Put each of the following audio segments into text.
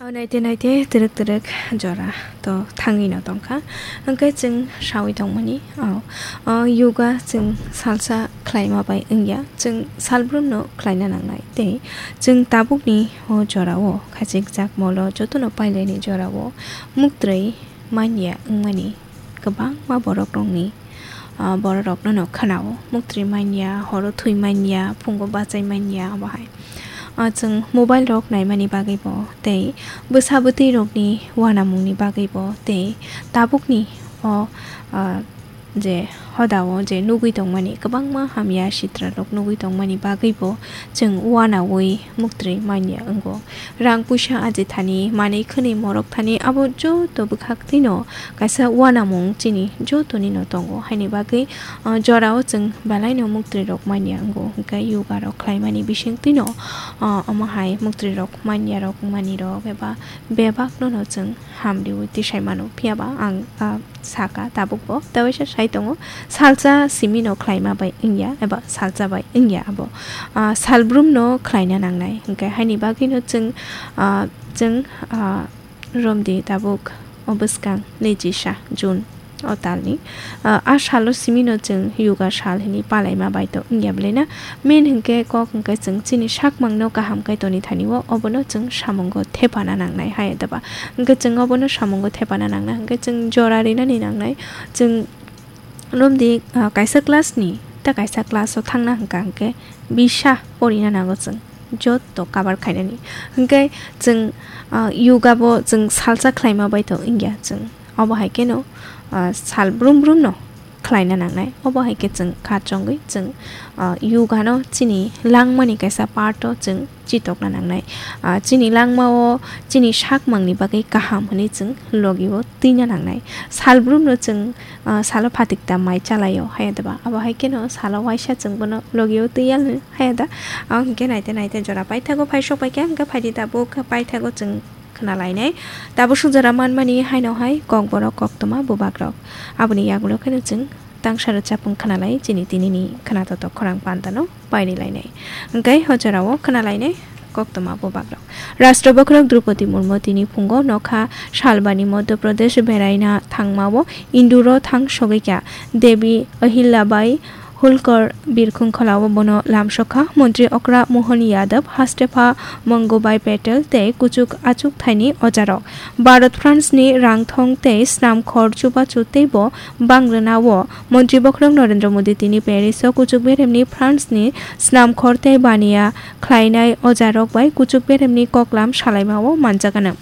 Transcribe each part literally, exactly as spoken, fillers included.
Naite naite twrwk twrwk jora to thangwi no tongkha. Hwnkhe chwng sawi tongmani, o, o yoga chwng salsa khlaima bai wngya, chwng salbrumno khlaina nangnai. Tei chwng tabukni o jorao khachikjak molo jotono pailaini jorao muktwi manya wngmani kwbangma borokrokni, ah, borokrokno no khwnao, muktwi manya, horo thwi manya, phungo bachai manya, obo hai. Ah, chwng mobile rok naimani bagwi bo tei bwsa bwtwi rokni uanamungni bagwi bo tei tabukni o, ah, je hodao je nugwi tongmani kwbangma hamya sitra rok nugwi tongmani bagwi bo chwng uanaui muktwi manya wngo. Rang puisa aji thani, manwi khwnwi morok thani, abo joto bwkhak twino kaisa uanamung chini joto nino tongo. Haini bagwi, ah, jorao chwng belai no muktwi rok manya wngo. Hwnkhe yoga rok khlaimani bising twino, ah, omo hai muktwi rok manya rok, wngmani rok eba bebak no no chwng hamriui tisai mano. Phiya ba ang, ah, saka tabuk bo, tei waisa sai tongo, salsa simi no khlaima bai wngya, eba salsa bai wngya abo, ah, salbrum no khlaina nangnai. Hwnkhe haini bagwi no chwng, ah, chwng, ah, romdi tabuk o bwskang nijisa June o talni, ah, a salo simi no chwng yoga sal hwnwi palaima bai to wngya bwlai na. Main hwnkhe kok hwnkhe chwng chini sakmang no kaham khe toni thani o, obono chwng samungo thepana nangnai hai da ba. Hwnkhe chwng obono samungo thepana nangnai, hwnkhe chwng jora rinani nangnai. Chwng romdi, ah, kaisa class ni ta kaisa class o thangna hwnkha hwnkhe bisa porina nango chwng joto cover khainani. Hwnkhe chwng, ah, yoga bo chwng salsa khlaima bai to wngya chwng. Obo hai kheno, ah, sal brum brum no khlaina nangnai. Obo hai khe chwng kha chongwi chwng, ah, yoga no chini langmani kaisa part o chwng chitokna nangnai. Ah, chini langmao chini sakmangni bagwi kaham hwnwi chwng logio twina nangnai. Salbrumno chwng, ah, salo phatikta mai chalaio, haya deba? Abo hai kheno salo waisa chwng bono logio twi yalni, haya da? Ang hwnkhe naite naite jora paithago phai sok paikha, hwnkhe phaidi tabuk paithago chwng khna lainai. Tabuk suk jora manmani haino hai kokborok koktwma bubagrok. Aboni yagulo kheno chwng tangsa rwchapung khna lai chini tinini khna totok khorang pantano paini lainai. Hwnkhe ho jorao khna lainai koktwma bubagrok. Rashtra bokhorok Droupadi Murmu tini phungo nokha salbani Madhya Pradesh beraina thangmao Induro thang sogwikha. Devi Ahilyabai Holkar birkhung kholao bono lamsokha. Montri okra Mohan Yadav, hastepha Mangubai Patel tei kuchuk achuk thaini ojarok. Bharat France ni rangthong tei snam khor chubachu teibo bangrwnao. Montri bokhorok Narendra Modi tini Paris o kuchuk beremni France ni snam khor tei baniya khlainai ojarok bai kuchuk beremni koklam salaimao manjakgana.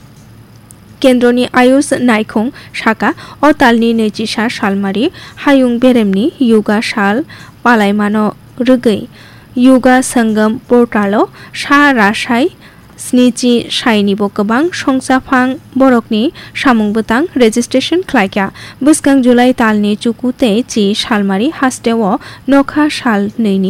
Kendroni Ayush naikhung saka, o talni naichisa salmari hayung beremni yoga sal palaimano rwgwi Yoga Sangam portalo sa rasai snichi sainibo kwbang songchaphang borokni samung bwtang registration khlaikha. Bwskang July talni chuku tei chi salmari hasteo nokha sal nwi ni